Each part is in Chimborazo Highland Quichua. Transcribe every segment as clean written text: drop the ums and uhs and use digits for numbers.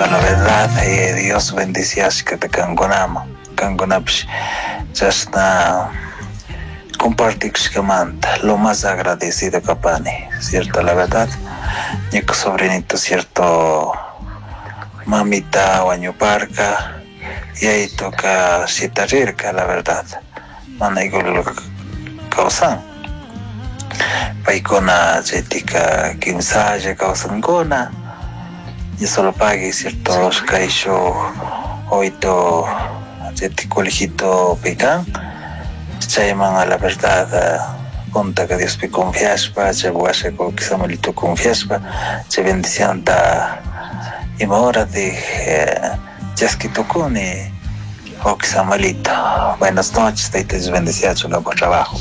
La verdad, Dios bendiciashkata kankunaman, kankunapish chashna compartikushkamanta lo más agradecido kapani, cierto, la verdad. Ñuka sobrinito, cierto, mamita wañuparka, yayituka shitarirka, la verdad, mana igual kawsan. Paykuna chaytika kimsalla kawsankuna. Y solo pague, cierto, kayshuk oyto chaytik colegito pikan. Chayman la verdad puntaka Diospi confiashpa, chay washa kullki Samuelito confiashpa, chay bendicionta ima horatik chaski tukuni wawki Samuelito. Buenas noches, Tayta Dios bendeciachun kampak trabajo.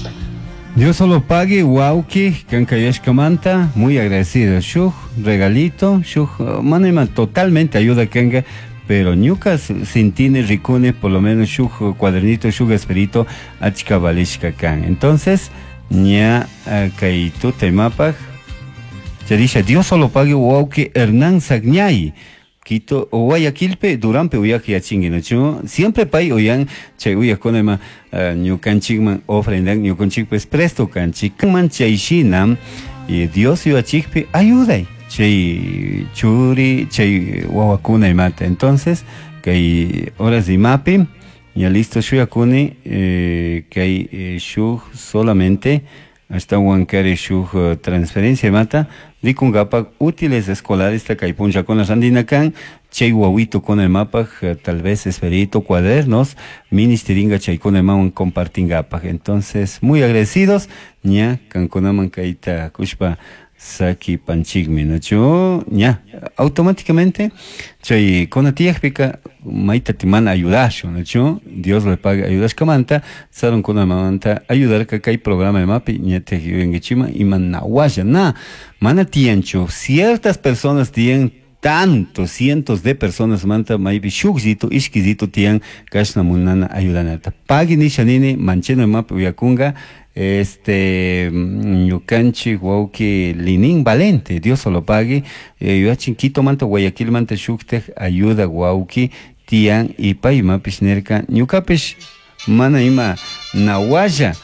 Dios solo pague, wawki, kankayashkamanta, muy agradecido. Shuk regalito, shuk, mana ima totalmente ayuda kanka, pero ñuka sintini rikuni, por lo menos shuk cuadernito, shuk esperito, achka valishka kan. Entonces, ña kay tuta imapaj, charisha, Dios solo pague, wawki Hernán Sagñay. Quito, Guayaquilpe, Duranpe uyak yachingi, ¿no? Siempre pay uyan, chay uyak con ema, ñukanchikman ofrendan, ñukanchik pues presto kanchik, man chay shina, y Dios yuachikpi ayuday, chay churi, chay wawakuna imata. Entonces, kay horas de imapi, ya listo shuyakuni, kay shuk solamente, hasta huancare shuk transferencia imata, rikungapak útiles escolares ta kay punllakuna randinakan, chay wawito con el mapa, tal vez esperito, cuadernos, ministeringa chaykuna imawan compartingapak. Entonces, muy agradecidos, ña, kankunaman kayta kushpa saki panchikmi, ¿no? Ña, automáticamente, chay kona tiyakpika, mayta timana ayudashu, ¿no? Dios le paga ayudashkamanta, sarun kuna mamanta ayudar ka kay programa de mapi, ña te yuyankichima, ima nawasha, na, mana tiyanchu, ciertas personas tiyan tantos, cientos de personas manta maypi shukllito, ishkillito tiyan kashna munana ayudanata. Pagui nisha nini, mancheno mapi uyakunga, ñukanchik wawki Linin Valente, Dios solo pague, yuachin Quito manta, Guayaquil manta shuktaj ayuda wawki tiyan y pay mapish nerka, ñukapish mana ima nawalla,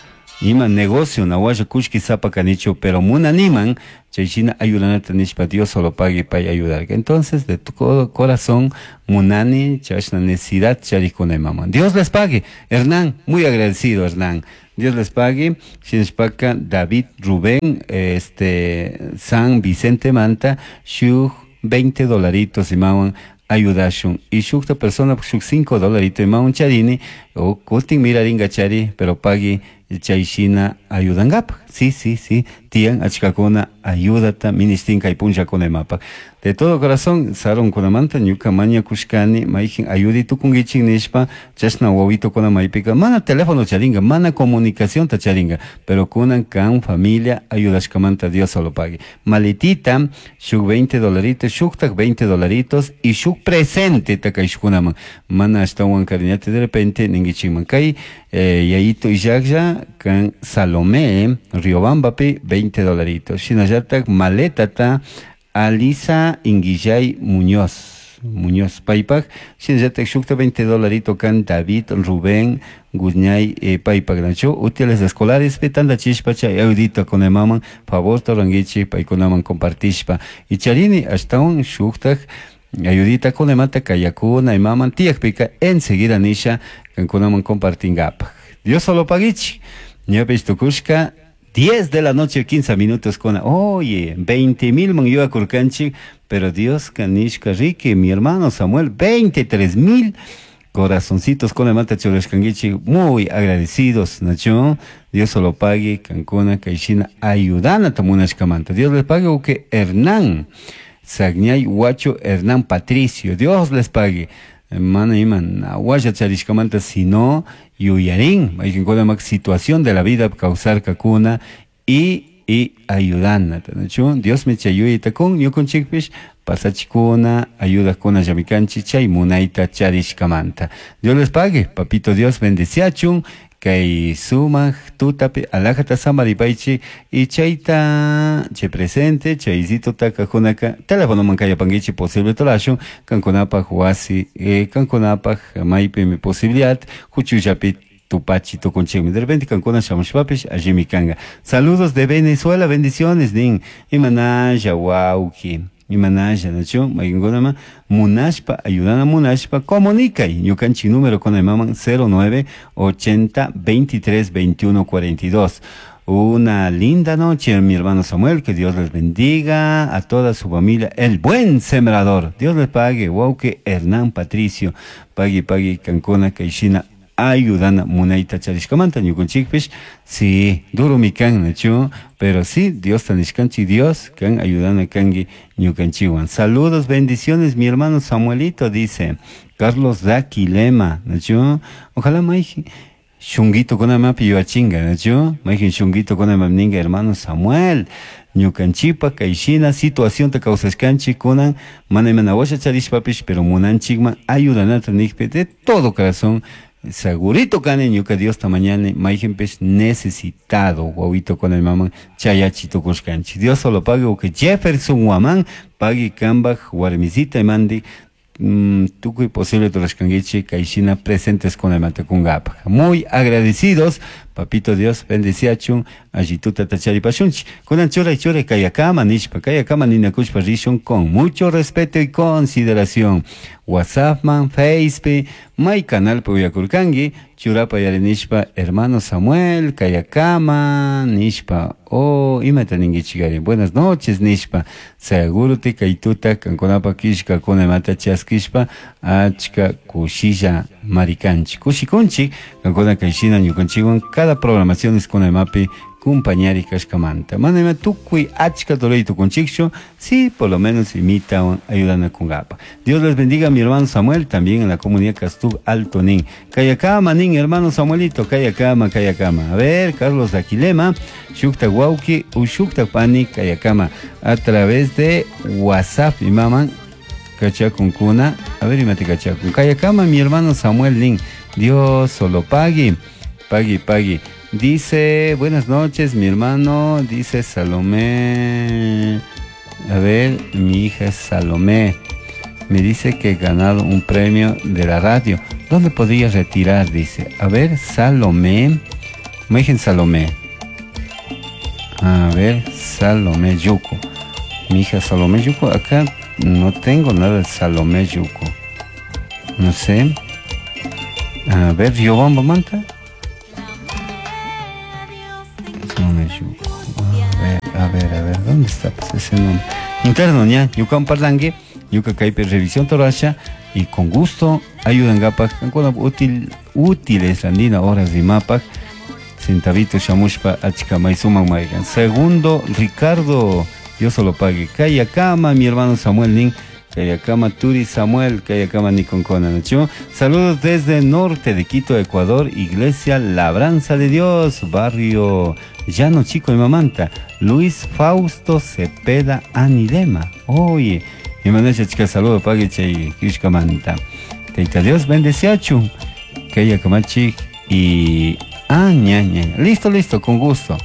ima negocio nawalla kushki sapa kanichu, pero munaniman chay shina ayudanata nishpa Dios solo pague pay ayudarka. Entonces, de tu corazón, munani, chashna necesidad, charikuna imama. Dios les pague. Hernán, muy agradecido, Hernán. Dios les pague. Shinashpaka, David Rubén, San Vicente Manta, shuk 20 dolaritos imawan ayudashun. Y shukta persona, shuk 5 dolaritos imawan charini, o kutin miraringa chari, pero pagui chayshina ayudangapaj. Sí, sí, sí, tiyan achkakuna ayudata ministin kay punllakuna imapaj. De todo corazón, sarun kunamanta ñuka mañakushkani, mayjin ayudi tukunkichik nishpa, chashna wawitokuna maypika, mana teléfono charinga, mana comunicación ta charinga, pero kunan kan familia ayudashkamanta Dios solo pague. Maletita, shuk 20 dolaritos, shuktak 20 dolaritos y shuk presente takayshkunaman. Mana ashtawan cariñate de repente ningichikman kay, yayito illaklla kan Salomé, Riobambapi, 20 dolaritos. Shinallatak maletata Alisa Inguillay Muñoz, Muñoz Paypak, shinallatak shukta 20 dolarito kan David Rubén Guñay, Paypak nacho, útiles escolares, petanda chishpa chay audito con el maman, favor toranguichi, paykunaman compartishpa. Y charini, hasta un shuktak ayudita con el mata kayakuna y maman tiyakpika enseguida nisha kankunaman compartingapa. Dios solo paguichi. Ñapis tukushka 10 de la noche, 15 minutos con, oye, 20,000 man iba kurkanchi, pero Dios kanishka rique, mi hermano Samuel, 23,000 corazoncitos con el mata churashkanguichi, muy agradecidos, Nacho, Dios solo pague, kankuna, kaishina, ayudana tamunashkamanta. Dios les pague, o que Hernán, Sagñay, Huacho, Hernán Patricio, Dios les pague. Mana iman, aguaya charishkamanta, sino yuyarin, hay que encontrar situación de la vida causar kakuna y ayudana, ¿no? Dios me chayuita con, yo con chikpish, pasachikuna, ayuda con ayamikanchi, chay munaita charishkamanta. Dios les pague, papito Dios bendeciachun, Kay sumaq tutapi alajata samaripaychik y chayta chay presente chaysitutaka kunaka telefonoman kayapankichik posible tulashun kankunapaj wasi kankunapaj maypimi posibilidad huchullapi tupachi tukunchikmi. De repente kankuna shamushpapish allimi kanga. Saludos de Venezuela, bendiciones nin. Imanalla wawki. Imanalla, nachu? Mayqinkunama munashpa, ayudana munashpa, comunicay. Ñukanchik número con el maman 09 80 23 21 42. Una linda noche, mi hermano Samuel, que Dios les bendiga a toda su familia. El buen sembrador. Dios les pague. Wauke Hernán Patricio. Pagui, pagui, kankuna, kayshina, ayudana munayta charishkamanta ñukunchikpish. Sí, duro mi kan, nachu, pero sí, Dios tanishkanchik, Dios kan ayudana kanki ñukanchikwan. Saludos, bendiciones, mi hermano Samuelito, dice Carlos Daquilema, nachu. Ojalá mayjin shunguito kunamapi yuachinga, nachu. Mayjin shunguito kunamapi ninga, hermano Samuel. Ñukanchikpa kayshina situación ta kawsashkanchik kunan mana imana washa charishpapish, pero munanchikman ayudanata nikpi de todo corazón. Segurito kani ñuka Diosta mañana mayjinpish necesitado wawito con el mamá chayachi tukushkanchik. Dios solo pague que Jefferson Guamán pague kambaj warmisita imandi tukuy posible turashkankichik kayshina presentes con el matakungapaj. Muy agradecidos, papito Dios bendeciachun allituta tacharipashunchik. Kunan churay churay kayakama nishpa, kayakama ninakushpa rishun con mucho respeto y consideración. WhatsApp man, Facebook, may canal uyakurkanki, churapa yari nishpa, hermano Samuel, kayakama nishpa, oh, imata ninkichikari, buenas noches nishpa, seguro te kaytuta kankunapa kishka kunamata chaskishpa, achka kushilla marikanchik, kushikunchik, kankuna kayshina ñukanchikwan cada programación es kunamapi kumpañari kashkamanta. Mana ima tukuy achka ruray tukunchikchu, sí, por lo menos imitan, ayudan a kungapa. Dios les bendiga, mi hermano Samuel, también en la comunidad Castub Alto Nin. Kayakama, nin, hermano Samuelito, kayakama, kayakama. A ver, Carlos de Aquilema, Shukta Wauki, Ushukta Pani, kayakama. A través de WhatsApp, mi mamá, kachakunkuna. A ver, imate kachakun. Kayakama, mi hermano Samuel Nin. Dios solo pagui, pagui, pagui. Dice, buenas noches, mi hermano, dice Salomé. A ver, mi hija es Salomé. Me dice que he ganado un premio de la radio. ¿Dónde podría retirar? Dice. A ver, Salomé. Me dicen Salomé. A ver, Salomé Yuco. Mi hija Salomé Yuco. Acá no tengo nada de Salomé Yuco. No sé. A ver, Riobamba Manta. A ver, a ver, a ver, ¿dónde está pues ese nombre? Interno, ña, yukan parlangue, yuka kaipe revisión torasha, y con gusto ayudan gapak, útil, útiles andina horas de mapak, centavito shamushpa achka maisuman maigan. Segundo, Ricardo, Dios solo pague. Kayakama, mi hermano Samuel Nin, Kayakama Turi Samuel, Kayakama Nikonkona, ¿no? Saludos desde norte de Quito, Ecuador, Iglesia Labranza de Dios, barrio Llano Chico de Mamanta, Luis Fausto Cepeda Anilema. Oye, mi manasha chica, saludo pague chay Kishkamanta. Teita Dios bendeciachu, Kayakamachi y ah, ña, ña. Listo, listo, con gusto.